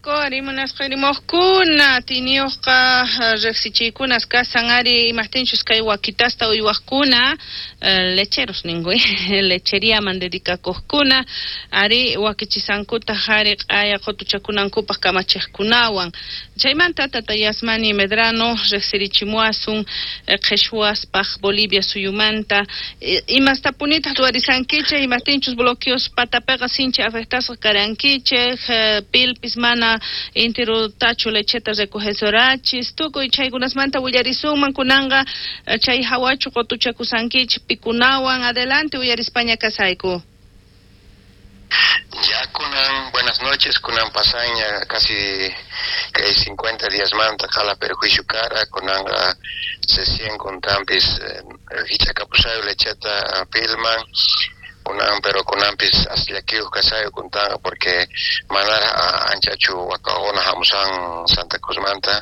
Rimunasqarimuqkuna tiniyuqqa riqsichiykunas kasan ari imaqtinchus kay wakitasta uywaqkuna lecheros ninku lecheriaman dedicakuqkuna ari wakichisankutaq ari q'aya qutuchakunankupaq kamachiqkunawan chaymanta tata Yasmani Medrano riqsirichimuwasun qhichwaspaq Bolivia suyumanta imastapunitaq ruwarisankichik imaqtinchus bloqueos patapiqa sinchi afectasqa karankichik pilpis mana intirutachu lecheta recogesorachis tukuy chaykunasmanta willarisunman kunanqa chay hawachu qutuchakusankichik pikunawan adelante uyarispaña kasayku. Ya kunan, buenas noches, kunan pasaña casi kay 50 días manta qala perjuicio kara, kunanqa recién kuntanpis hich'akapusayu lecheta pilman, kunan pero kunanpis asllakiyuq kasayu kuntanqa porque manara anchachu wakaquna hamusan Santa Cruzmanta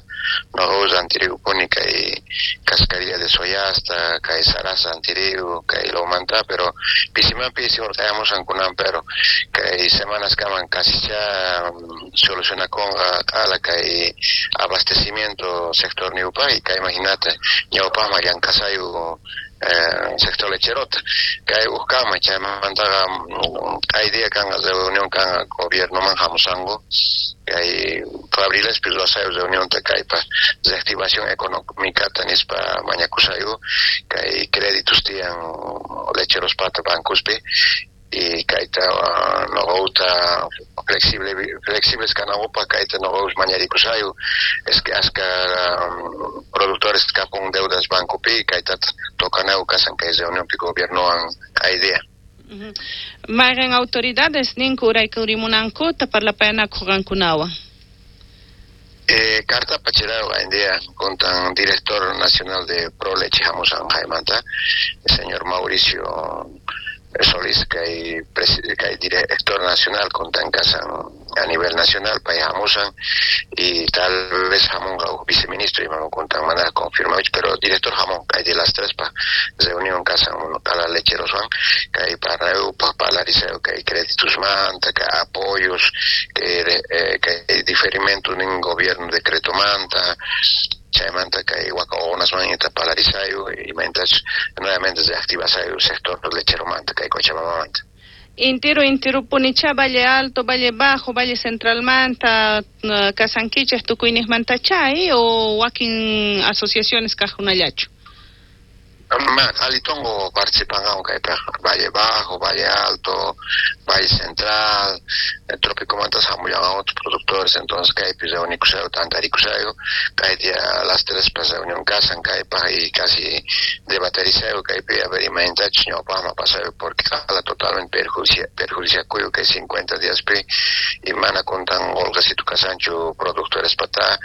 noqaqa rantirikupuni kay cascarilla de soyasta, kay sarasa rantiriku, kay lawmanta, pero pisiman pisi hurqayamusan kunan, pero kay semanas kaman casi ya solucionakunqa q'ala kay abastecimiento sector niwpaq y kay imaginate ñawpaqman llank'asayu sector lecherota kay uqkama chaymantaqa kay día kanqa reunión kanqa gobiernoman hamusanku kay fabrilespi ruwasayu reunionta kaypa reactivación económicata nispa mañakusayu kay créditos tiyan lecherospata bancospi y kayta noqauta flexibles kanankupaq kayta noqaus mañarikusayu es que aska productores kapun deudas bancopi kayta tocanayu kasan kay reunionpi gobiernowan idea. Mayqin autoridades ninku uraykurimunankuta parlapayanakuq qankunawan? Carta pachirao hoy kuntan director nacional de Proleche hamusan jaymanta, el señor Mauricio Solís kay director nacional kuntan kasan a nivel nacional pay hamusan y tal vez hamunqa huk viceministro imam kuntan mana confirmado pero director hamun kay de las tres pa reunión kasan qala lecheroswan kay parnayupaq parlarisayu kay créditos manta kay apoyos kay diferimento nin gobierno decreto manta chaymanta kay wakaqunasman parlarisayu imaynatachus nuevamente reactivasayu sector lecheromanta kay Cochabambamanta. Intirupunicha Valle Alto, Valle Bajo, Valle Centralmanta, kasankichik tukuyniqmantacha o wakin asociaciones kaqkunallachu? Alitongo participan kaypaq Valle Bajo, Valle Alto, Valle Central, Trópico mantas hamullan otros productores, entonces kaypi reunikushayu, tantarikushayu, kay día las tres pa reunión kasan kaypaq y casi debaterisayu kaypi a ver imaynatachus ñawpaqman pasayu porque qala totalmente perjuiciakuyu kay 50 días pi y mana kuntan qolqesitu kasanchu productores pata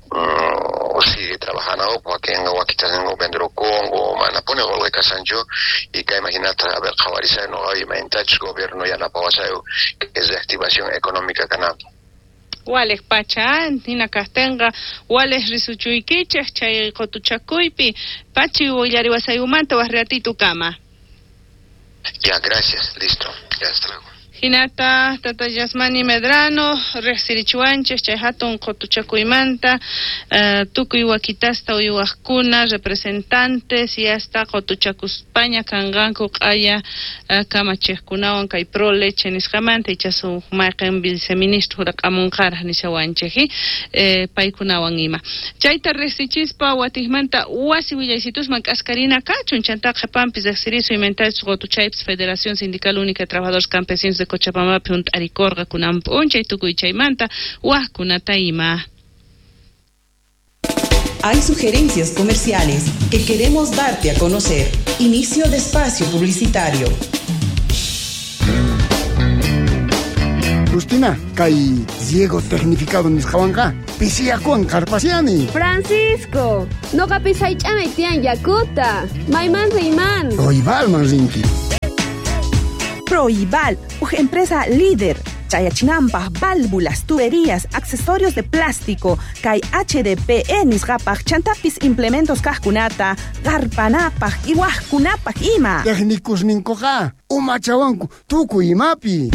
o sigue trabajando wakin wakitas vendrukunku mana puni qolqe kasanchu y kay imaginata a ver qhawarisayu noqa imaynatachus gobierno yanapawasayu que es reactivación económica kananpaq. Waleq pacha hina kaqtinqa waleq risuchuykichik chay qutuchakuypi pachi willariwasayumanta waq ratito kama. Ya, gracias, listo, ya hasta luego. Hinata tata Yasmani Medrano riqsirichiwanchik chay hatun qutuchakuymanta tukuy wakitasta uywaqkuna representantes y hasta qutuchakuspaña kanqanku q'aya kamachiqkunawan kay Pro Leche nisqamanta ichasu mayqin viceministro huraqamunqaraq nishawanchik paykunawan ima chayta riqsichispa watiqmanta wasi willaysitusman k'askarina kachun chanta qhipanpis riqsirisu imaynatachus qutuchaypis Federación Sindical Única de Trabajadores Campesinos de Cochabambapi hunt'arikurqa kunan p'unchay tukuy chaymanta waqkunata ima. Hay sugerencias comerciales que queremos darte a conocer. Inicio de espacio publicitario. Justina, kay riego tecnificado nisqawanqa pisiyakuwan qarpasiani. Francisco, noqapis haych'anay tiyan yakuta. Mayman riyman. Proibalman rinki. Proibal, uj empresa líder. Chayachinampaj, válvulas, tuberías, accesorios de plástico, kay HDPE nisqapaj, chantapis implementos kaqkunata, qarpanapaj, iwajkunapaj ima. Técnicos ninkuqa, umachawanku, tukuy imapi.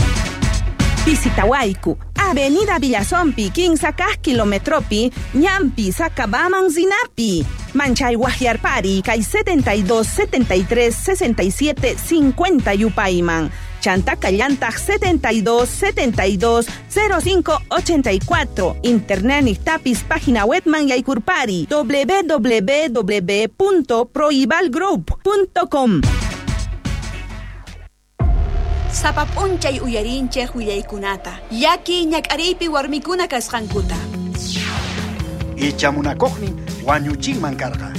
Visitawayku, Avenida Villazompi, 15 kaj kilometropi, ñampi, Sacabaman Zinapi. Manchay Guajiarpari, kay 72 73 67 50 Yupayman. Chantaka llantaj 72 72 05 84. Internet tapis página webman yaykurpari www.proibalgroup.com. Sapap'unchay uyarinchej willaykunata, llaki ñak'ariypi warmikuna kasqankuta. Ichamunakuqnin wañuchinman karqa.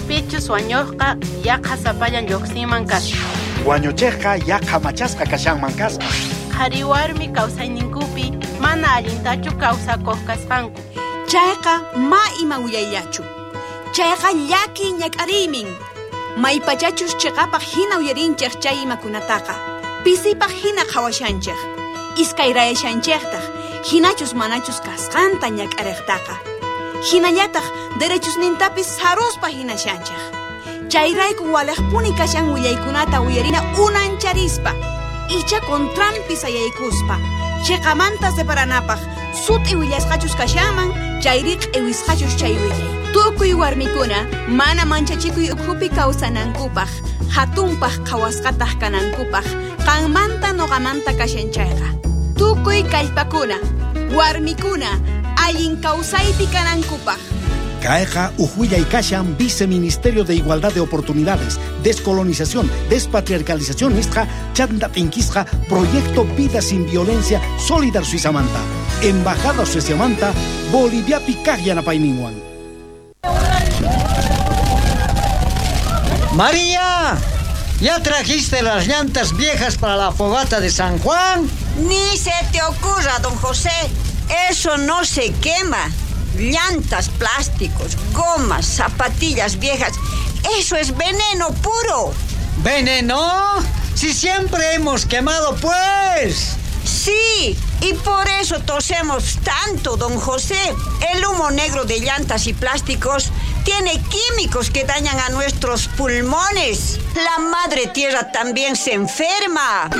Pichus wañuqqa yaqa sapallan lluqsinman kasqa. Wañuchiqqa yaqa machasqa kashanman kasqa. Qhari warmi kawsayninkupi mana allintachu kawsakuq kasqanku. Chayqa ma ima willayllachu. Chayqa llaki ñak'ariymin. Maypachachus chiqapaq hina uyarinchej chay imakunataqa. Pisipaq hina qhawashanchej. Iskayrayashanchejtaq hinachus manachus kasqanta ñak'ariqtaqa. Hinallataq derechusnintapis saruspa hinashanchej. Chayrayku waliqpuni kashan willaykunata uyarina unancharispa. Icha contranpi sayaykuspa. Chiqamanta separanapaq sut'i willasqachus kashanman chayri q'iwisqachus chay willay. Tukuy warmikuna mana manchachikuy ukhupi kawsanankupaq, hatunpaq qhawasqataq kanankupaq, qanmanta noqamanta kashan chayqa. Tukuy kallpakuna, warmikuna, allin kawsaypi kanankupaq. Kayqa uj kashan Viceministerio de Igualdad de Oportunidades, Descolonización, Despatriarcalización nisqa chanta t'inkisqa Proyecto Vida Sin Violencia Solidar Suizamanta, Embajada Sueziamanta, Boliviapi kaq yanapayninwan. María, ¿ya trajiste las llantas viejas para la fogata de San Juan? Ni se te ocurra, don José. Eso no se quema. Llantas, plásticos, gomas, zapatillas viejas. Eso es veneno puro. ¿Veneno? Si siempre hemos quemado, pues. Sí, y por eso tosemos tanto, don José. El humo negro de llantas y plásticos tiene químicos que dañan a nuestros pulmones. La madre tierra también se enferma.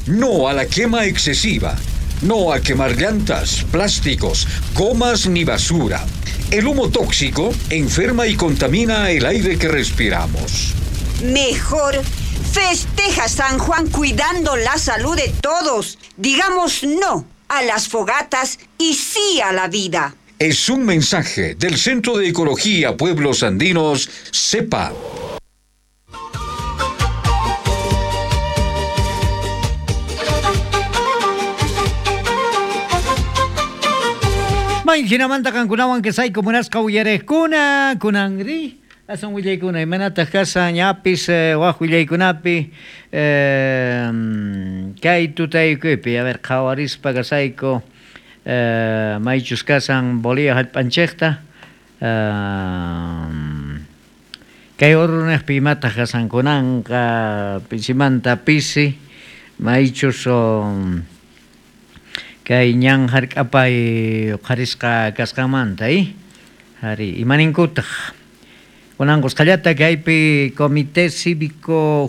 No a la quema excesiva. No a quemar llantas, plásticos, gomas ni basura. El humo tóxico enferma y contamina el aire que respiramos. Mejor festeja San Juan cuidando la salud de todos. Digamos no a las fogatas y sí a la vida. Es un mensaje del Centro de Ecología Pueblos Andinos, CEPA. Mayhinamanta qankunawan qisayku munasqa uyariqkuna kunanri asan willaykuna imanataq kashan ñapis waq willaykunapi kay tutaykuypi a ver qhawarispa kasayku maychus kasan Bolivia hallp'anchikta kay Oruro-niqpi imataq kasan kunanqa pisimanta pisi maychus kay ñan hark'apay uqharisqa kasqanmanta hari imaninkutaq kunan qusqallata kaypi comité cívico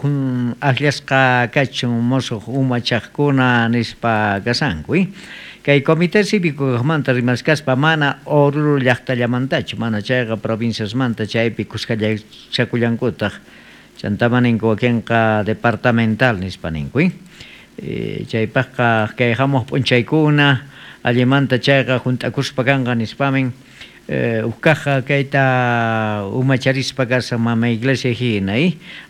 akllasqa kachun musuq umachaqkuna nispa kasanku kay comité cívico kaqmanta rimaskaspa mana Oruro llaqtallamantachu mana chayqa provinciasmanta chaypi kuskallachakullankutaq chantama ninku wakinqa departamental nispa ninku chaypaqqa kay hamuq p'unchaykuna allimanta chayqa hunt'akuspa kanqa nispamin uqkaqqa kayta umacharispa kasan mama iglesia hina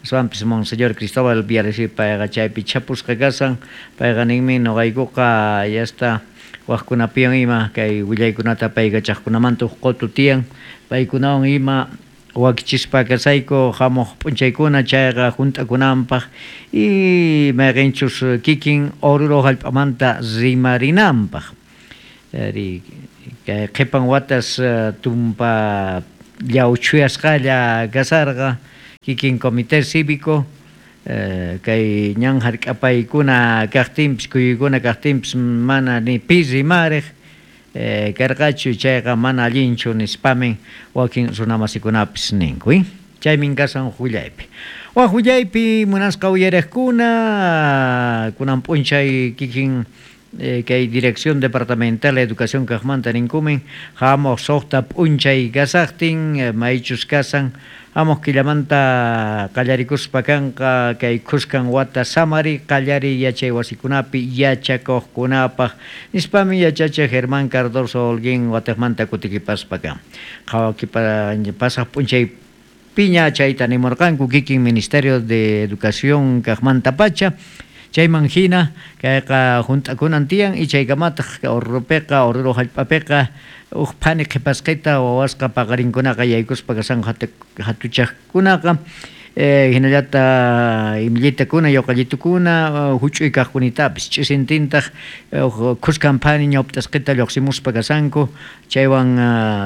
aswanpis Monseñor Cristóbal Villarreal payqa chaypi chapusqa kasan payqa ninmi nuqaykuqa yasta waqkunapiwan ima kay willaykunata paykachaqkunamanta uq qutu tiyan paykunawan ima wakichispa kasayku hamuq p'unchaykuna chayqa hunt'akunanpaq y mayqinchus kikin Oruro hallp'amanta rimarinanpaq kay qhipan watas tumpa llawchuyasqalla kasarqa kikin comité cívico kay ñan hark'apaykuna kaqtinpis kuyuykuna kaqtinpis mana ni pi rimariq karqachu chayqa mana allinchu nispamin wakin runamasikunapis ninku chaymin kasan willaypi. Waj willaypi munasqa uyariqkuna kunan p'unchay kikin kay Dirección Departamental de Educación kaqmanta ninkumin hamuq suqta p'unchay kasaqtin maychus kasan hamuq killamanta qallarikuspa kanqa kay khuskan wata samari qallariy yachay wasikunapi yachakuqkunapaq nispami yachachiq Germán Cardoso Holguín watiqmanta kutikipaspa kan qhawakipa pasaq p'unchay piña chayta nimurqanku kikin Ministerio de Educación kaqmantapacha chayman hina kayqa hunt'akunan tiyan y chaykamataq Oruropiqa Oruro hallp'apiqa uj phani qhipasqita wawasqa paqarinkunaqa yaykuspa kashanku hatuchaqkunaqa hinallata imillitakuna yawqallitukuna huch'uy kaqkunitapis ch'isintintaq khuskan phani ñawptasqita lluqsimuspa kashanku chaywan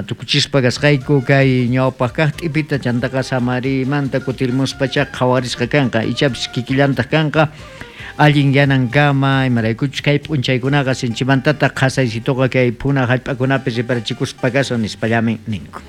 tukuchispa kasqayku kay ñawpaq kaq t'ipita chantaqa samarimanta kutirmuspacha qhawarisqa kanqa ichapis kikillantaq kanqa allin yanankama imaraykuchus kay p'unchaykunaqa sinchimantataq qhasaysituqa kay phuna hallp'akunapi riparachikuspa kashan nispallamin ninku.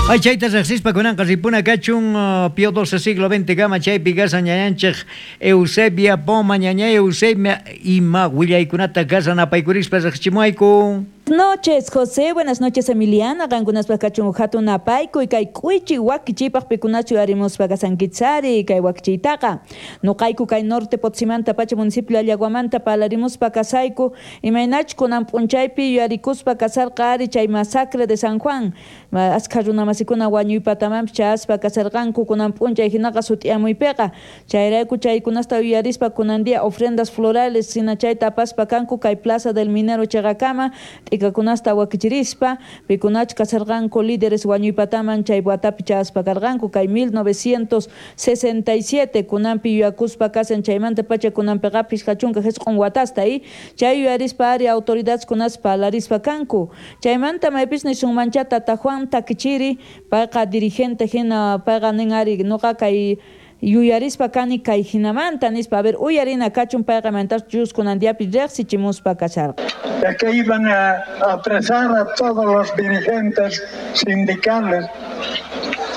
Ay chayta riqsispa kunanqa ripuna kachun Pío XII siglo XX kama chaypi kasan ñañanchik Eusebia Poma ñañay Eusebia ima willaykunata kasan apaykurispa riqsichimuayku. Noches, José. Buenas noches, Emiliana. Qankunaspaq kachun hatun apaykuy kay k'uychi wakichiypaq pikunachu yarimuspa kasankichari kay wakichiytaqa. Nuqayku kay norte Potosímanta pacha municipio Allaguamanta parlarimuspa kasayku imaynachu kunan p'unchaypi yuyarikuspa kasarqa ari chay masacre de San Juan. Askha runamasikuna wañuypatamanpis chayaspa kasarqanku kunan p'unchay hinaqa sut'iyamuypiqa. Chayrayku chaykunasta yuyarispa kunan día ofrendas florales hina chayta apaspa kanku kay Plaza del Minero chayqakama t'ikakunasta wakichirispa pikunachu kasarqanku líderes wañuypataman chay watapi chayaspa karqanku kay 1967 kunanpi yuyakuspa kasan chaymanta pacha kunanpiqa 59 watasta y chay yuyarispa ari autoridades kunaspa parlarispa kanku chaymanta maypis nisunmancha tata Juan Takichiri payqa dirigente hina payqa nin ari nuqa kay yuyarispa kani kay hinamanta nispa a ver uyarina kachun payqa mantas kunan diapi riqsichimuspa kasharqa. De que iban a apresar a todos los dirigentes sindicales.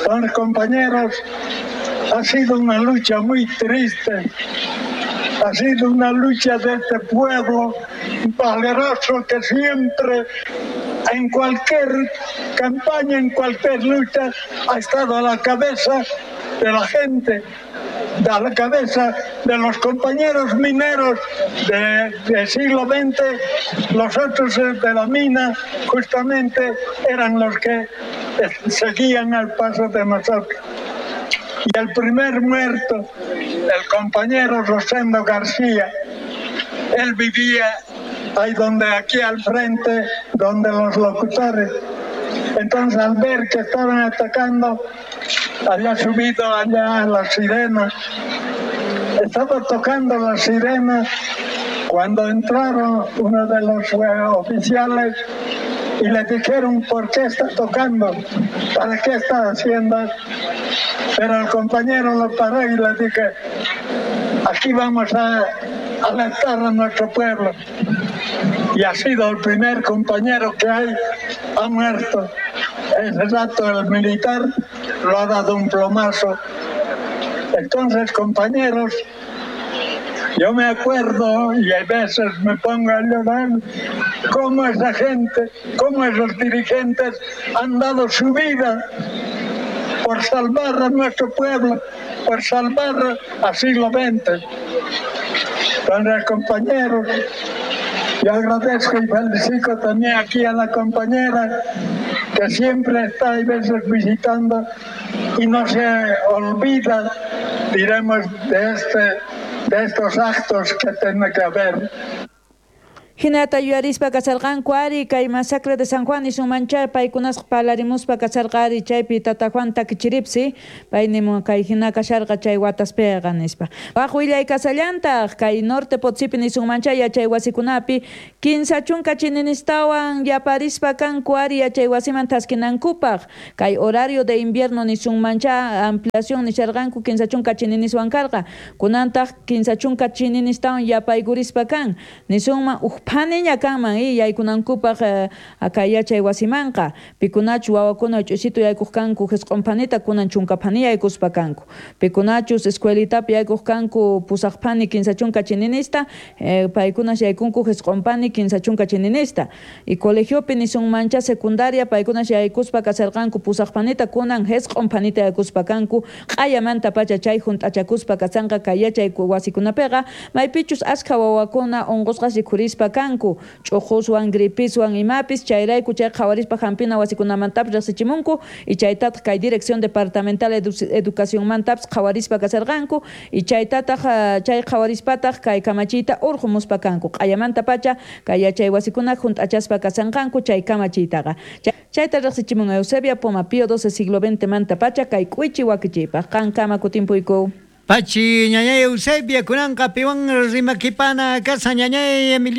Entonces, compañeros, ha sido una lucha muy triste, ha sido una lucha de este pueblo valeroso que siempre, en cualquier campaña, en cualquier lucha, ha estado a la cabeza de la gente, a la cabeza de los compañeros mineros del siglo XX, los otros de la mina justamente eran los que seguían al paso de nosotros. Y el primer muerto, el compañero Rosendo García, él vivía ahí donde, aquí al frente, donde los locutores. Entonces, al ver que estaban atacando, había subido allá a las sirenas. Estaba tocando las sirenas cuando entraron uno de los oficiales y le dijeron: ¿por qué está tocando? ¿Para qué está haciendo? Pero el compañero lo paró y le dije: aquí vamos a alertar a nuestro pueblo. Y ha sido el primer compañero que hay, ha muerto. Ese rato el militar lo ha dado un plomazo. Entonces, compañeros, yo me acuerdo, y a veces me pongo a llorar, cómo esa gente, cómo esos dirigentes han dado su vida por salvar a nuestro pueblo, por salvar al siglo XX. Entonces, compañeros, yo agradezco y felicito también aquí a la compañera que siempre está a veces visitando y no se olvida, diremos, de estos actos que tiene que haber. Hinata yuyarispa kasarqanku ari kay masacre de San Juan nisunmancha paykunasqa parlarimuspa kasarqa ari chaypi tata Juan Takichiripsi pay nimun kay hina kasharqa chay wataspiqa nispa. Waq willay kasallantaq kay norte Potosipi nisunmancha yachay wasikunapi 30 chininistawan yaparispa kanku ari yachay wasiman taskinankupaq kay horario de invierno nisunmancha ampliación nisharqanku 30 chininiswan karqa kunantaq 30 chininistawan yapaykurispa kan nisunman uj phaniña kanman yaykunankupaq kay yachay wasimanqa pikunachus wawakuna ch'usitu yaykuq kanku jisq'un phanita kunan 10 phani yaykuspa kanku pikunachus escuelitapi yaykuq kanku 8 phani 30 chininista paykunas yaykunku jisq'un phani 30 chininista y colegiopi nisunmancha secundaria paykunas yaykuspa kasarqanku 8 phanita kunan jisq'un phanita yaykuspa kanku q'ayamanta pacha chay junt'achakuspa kasanqa kay yachay wasikunapiqa maypichus askha wawakuna unqusqas rikhurispa kanku ch'uquswan gripiswan imapis chayrayku chay qhawarispa hampina wasikunamantapis riqsichimunku y chaytataq kay dirección departamental educacionmantapis qhawarispa kasarqanku y chaytataq chay qhawarispataq kay kamachiyta urqumuspa kanku q'ayamanta pacha kay yachay wasikuna junt'achaspa kasanqanku chay kamachiytaqa chayta riqsichimun Eusebia Poma Pío XII siglo XX manta pacha kay k'uichi wakichiypaq qankama kutimpuyku. Pachi ñañay Eusebia kunanqa piwan rimakipana kasa ñañay Emilia.